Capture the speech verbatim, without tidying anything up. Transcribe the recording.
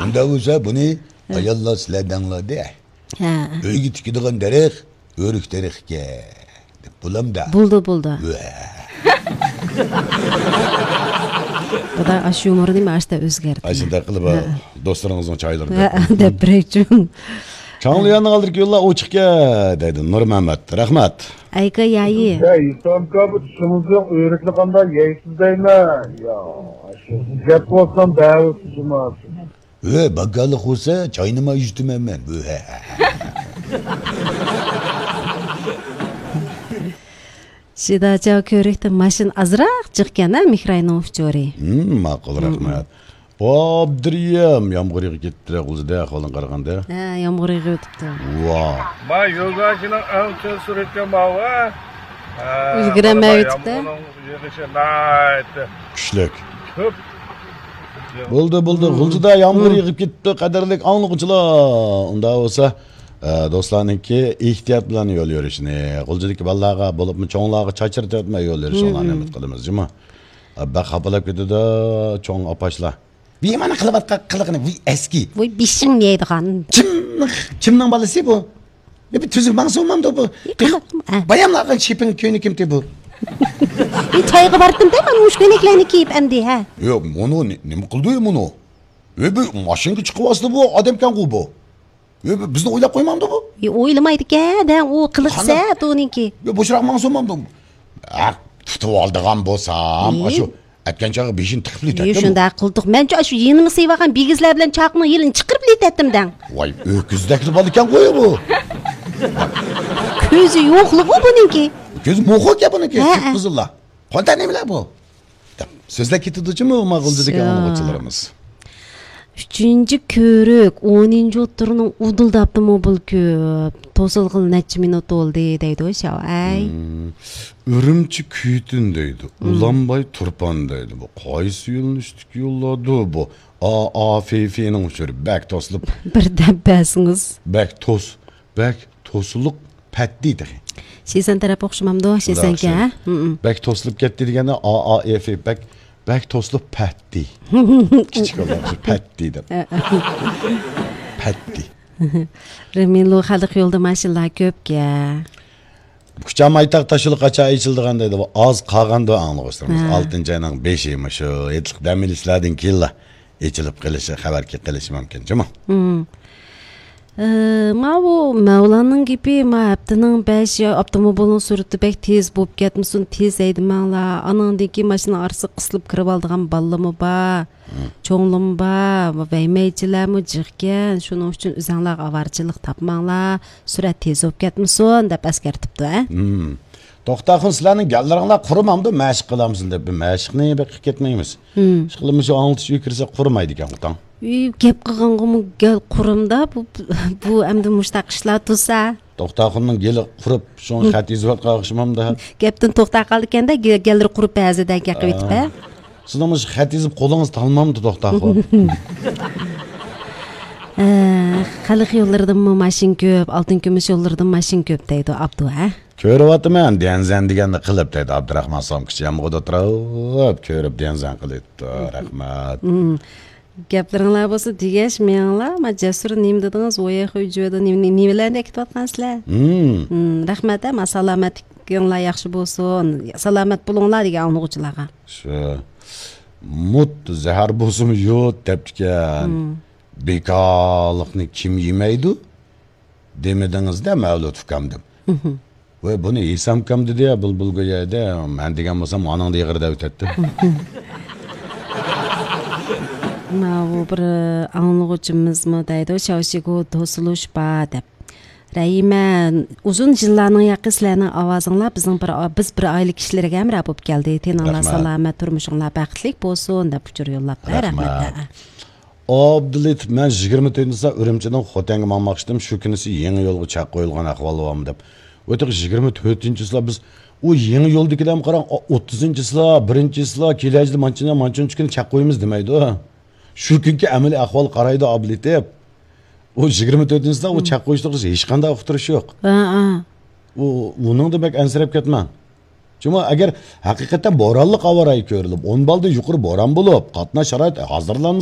ئۇنداق بولسا بۇنى ئاياللار سىلەر دەڭلار دە. ھە. ئۆيگە تىكىدىغان دەرەخ ئۆرۈك دەرىخىكەن دەپ بولامدا. بولدى، بولدى. ۋە. خۇداي ئاشۇ يۇمۇرنى مانا ئاشتا ئۆزگەرتتى. ئاشۇنداق قىلىپ، ھە، دوستلىرىڭىزنىڭ چايلىرىنى، ھە، دەپ بېرەيچۇ. چاڭلىياننىڭ ئالدىدىكى يوللار ئوچۇقكەن دەيدۇ نۇرمەمەت. رەھمەت. ئەيكا يايى. يا، ھېسامكا، بۇ چىشىڭىزنىڭ ئۆرۈكلىرى قانداق يەيسىز دەيمەن. يا، ئاشۇ گەپ بولسام دەۋاتسىز جۇما. ھۆ، باكالىق بولسا چاينىما ئۈزۈتىمەن مەن. ھۆ، ھە، ھە، ھە. شىداچاۋ كۆۋرۈكتە ماشىنا ئازراق جىقكەن ھە، مېھراينىڭ ئۇچۇرى. ھىم، ماقۇل، ھىم، رەھمەت. ھىم. ئابدۇرىيەم، يامغۇر يېغىپ كەتتى غۇلجىدا ئەھۋالىڭ قارىغاندا. ھە، يامغۇر يېغىۋېتىپتۇ. ۋا. ما يولداشنىڭ ئەڭ چىن سۈرىتى ماۋۇ. ھە، ئۈلگۈرەلمەيۋېتىپتۇ. يامغۇرنىڭ يېغىشى ناھايىتى كۈچلۈك. كۆپ. بولدى، بولدى. ھىم. غۇلجىدا يامغۇر، ھىم، يېغىپ كېتىپتۇ، قەدىرلىك ئاڭلىغۇچىلار. ئۇنداق بولسا، ئە، دوستلارنىڭكى ئېھتىيات بىلەن يول يۈرۈشىنى، غۇلجىدىكى بالىلارغا، بولۇپمۇ چوڭلارغا چاچرىتىۋەتمەي يول يۈرۈشۈڭلارنى، ھىم، ھىم، ئۈمىد قىلىمىز، جۇمۇ. ئە، بەك خاپىلاپ كېتىدۇ چوڭ ئاپاشلار. ۋىي، مانا قىلىۋاتقان قىلىقىنى، ۋىي، ئەسكى. ۋوي، بېشىڭ يەيدىغان. كىمنىڭ، كىمنىڭ بالىسى بۇ؟ يا، بىر تۈزۈك ماڭسا بولمامدۇ بۇ؟ يا، قانداق، ھە. باياملارغا شېپىڭ كۆينىكىمتى بۇ؟ يا، چايغا باردىم دە، مانا مۇشۇ كۆينەكلەرنى كىيىپ ئەمدى، ھە. ياق، مۇنۇ نېمە قىلدى مۇنۇ؟ يا، بۇ ماشىنىغا چىقىۋاتسا بۇ ئادەمكەنغۇ بۇ. يا، بۇ بىزنى ئويلاپ قويمامدۇ بۇ؟ يا، ئويلىمايدىكەن دە، ئۇ قىلىق سەت ئۇنىڭكى. يا، بوشراق ماڭسا بولمامدۇ؟ ھە، تۇتۇۋالىدىغان بولسام، ئاشۇ ئەتكەن چاغى بېشىنى تىقىپ يۈ، شۇنداق قىلدۇق. مەنچۇ ئاشۇ يېنىمغا سىيىۋالغان بىگىزلەر بىلەن چاقنىڭ يېلىنى چىقىرىپ لېتەتتىم دەڭ. ۋاي، ئۆكۈزدەكلا بالا ئىكەنغۇ بۇ. كۆزى يوقلۇقى بۇنىڭكى. كۆزى موخۇ ئىكەن بۇنىڭكى، ھە، قىپقىزىللا. قانداق نېمىلەر بۇ؟ دەپ سۆزلەپ كېتىدۇ جۇمۇ ماقۇلدىكى ئاڭلىغۇچىلىرىمىز. ئۈچىنچى كۆۋرۈك، ئونىنچى ئوتتۇرىنىڭ ئۇدۇلدا ئاپتوموبىل كۆپ. توسۇلغىلى نەچچە مىنۇت بولدى دەيدۇ شاۋ. ئەي. ھىم. ئۈرۈمچى كۈيتۈن دەيدۇ. ھىم. ئۇلانباي تۇرپان دەيدۇ. بۇ قايسى يۆنىلىشتىكى يوللاردۇ بۇ؟ ئا، ئا، فې، فېنىڭ ئۇچۇرى بەك توسۇلۇپ. بىر دەپ بەرسىڭىز. بەك توس، بەك توسۇلۇق پەتتى تېخى. شىسەن تەرەپ ئوخشىمامدۇ؟ شىسەنكە، ھە؟ ھىم، ھىم. بەك توسۇلۇپ كەتتى دېگەندە، ئا، ئا، ئېف، بەك، بەك توسۇلۇپ پەتتى. كىچىك يوللار ئۈچۈن پەتتى دەپ. ھە، ھە. پەتتى. رېمىلۇ خەلق يولىدا ماشىنىلار كۆپكەن. كۇچا مايتاق تاشيولى قاچان ئېچىلىدىغان دەيدۇ. ئاز قالغاندۇ ئاڭلىغۇچىلىرىمىز. ھە. ئالتىنچى ئاينىڭ بېشى، مۇشۇ ھېيتلىق دەم ئېلىشلاردىن كېيىنلا ئېچىلىپ قېلىشى، خەۋەر كېلىشى مۇمكىن جۇمۇ. ھىم. ئى، ماۋۇ مەۋلاننىڭ گېپى، ما ھەپتىنىڭ بەش يا ئاپتوموبىلنىڭ سۈرئىتى بەك تېز بولۇپ كەتمىسۇن، تېز ھەيدىمەڭلار. ئانىڭدىن كېيىن ماشىنا ئارىسىغا قىسىلىپ كىرىۋالىدىغان بالىلىرىمۇ بار. ھىم. چوڭلىرىمۇ بار، ۋەيمەيچىلەرمۇ جىقكەن، شۇنىڭ ئۈچۈن ئۆزەڭلارغا ئاۋارىچىلىق تاپماڭلار، سۈرئەت تېز بولۇپ كەتمىسۇن، دەپ ئەسكەرتىپتۇ، ھە؟ ھىم. توختاخۇن، سىلەرنىڭ گەللىرىڭلار قۇرۇمامدۇ، مەشىق قىلامسىلەر دەپ، بىر مەشىقنى بەك قىلىپ كەتمەيمىز. ھىم. ئىشقىلىپ، مۇشۇ ئاڭلىتىش ئۆيى كىرسە قۇرۇمايدىكەن، ئۇتاڭ. ئۆي گەپ قىلغانغىمۇ گەل قۇرۇمدا، بۇ، بۇ ئەمدى مۇشتاق ئىشلار تۇرسا. توختاخۇننىڭ گېلى قۇرۇپ، شۇڭا خەت يېزىۋاتقان ئوخشىمامدا. گەپتىن توختاپ قالىدىكەن-دە، گە-، گەللىرى قۇرۇپ بەزىدە گەپ قىلىۋېتىپ، ھە؟ سىزنىڭ مۇشۇ خەت يېزىپ قولىڭىز تالمامدۇ، توختاخۇن؟ ئە، خەلق يوللىرىدىنمۇ ماشىنا كۆپ، ئالتۇن كۈمۈش يوللىرىدىن ماشىنا كۆپ دەيدۇ ئابدۇ، ھە؟ كۆرۈۋاتىمەن، ديەنزەن دېگەننى قىلىپ دەيدۇ ئابدۇراخمان سومكىچى يامغۇردا تۇرۇپ، كۆرۈپ ديەنزەن قىلىپتۇ. رەھمەت. مم. گەپلىرىڭلار بولسا دېگەچ مېڭىڭلار، ما جەسۇر نېمە دېدىڭىز، ۋويەخۇي جۆدە نېمە، نېمە، نېمىلەرنى ئەكېتىۋاتقان سىلەر؟ مم. مم، رەھمەت، ھە، ما سالامەتلىكىڭلار ياخشى بولسۇن، سالامەت بولۇڭلار دېگەن ئاڭلىغۇچىلارغا. شۇ، مۇت زەھەر بولسىمۇ يۇت دەپتىكەن. مم. بىكارلىقنى كىم يېمەيدۇ؟ دېمىدىڭىز-دە، مەۋلۇت ئۇكام دەپ. مم. ۋاي، بۇنى ھېسامكام دېدى يا، بۇلبۇل گويا دە، مەن دېگەن بولسام، ئاناڭدا ئېغىر دەۋېتەتتى. ماۋۇ بىر ئاڭلىغۇچىمىزمۇ دەيدۇ، شاۋشىگۇ توسۇلۇش بار دەپ. رەھىمە، ئۇزۇن يىللارنىڭ ياقى سىلەرنىڭ ئاۋازىڭلار بىزنىڭ بىر، بىز بىر ئائىلە كىشىلىرىگە ھەمراھ بولۇپ كەلدى. تېنىڭلار رەھمەت. سالامەت، تۇرمۇشۇڭلار بەختلىك بولسۇن دەپ ئۇچۇر يوللاپتۇ. رەھمەت. رەھمەت. ئابدۇلېتىپ، مەن يىگىرمە تۆتىنچى چىسلا ئۈرۈمچىدىن خوتەنگە ماڭماقچىدىم، شۇ كۈنىسى يېڭى يولغا چەك قويۇلغان ئەھۋال بارمۇ دەپ. ئۇ تېخى يىگىرمە تۆتىنچى چىسلا بىز، ئۇ يېڭى يولدىكىلەرمۇ قاراڭ، ئوتتۇزىنچى چىسلا، بىرىنچى چىسلا، كېلەجىدە مانچىنى، مانچىنچە كۈنى چەك قويىمىز دېمەيدۇ. شۇ كۈنكى ئەمەلىي ئەھۋال قارايدۇ ئابدۇلېتىپ. ئۇ يىگىرمە تۆتىنچى چىسلا ئۇ چەك قويۇشلۇق ھېچقانداق ئۇقتۇرۇش يوق. ھە، ھە. ئۇ، ئۇنىڭدا بەك ئەنسىرەپ كەتمەڭ. چۈنكى ئەگەر ھەقىقەتەن بورانلىق ئاۋارە كۆرۈلۈپ، ئون بالدىن يۇقىرى بوران بولۇپ، قاتناش شارائىتى ھازىرلانمىسا،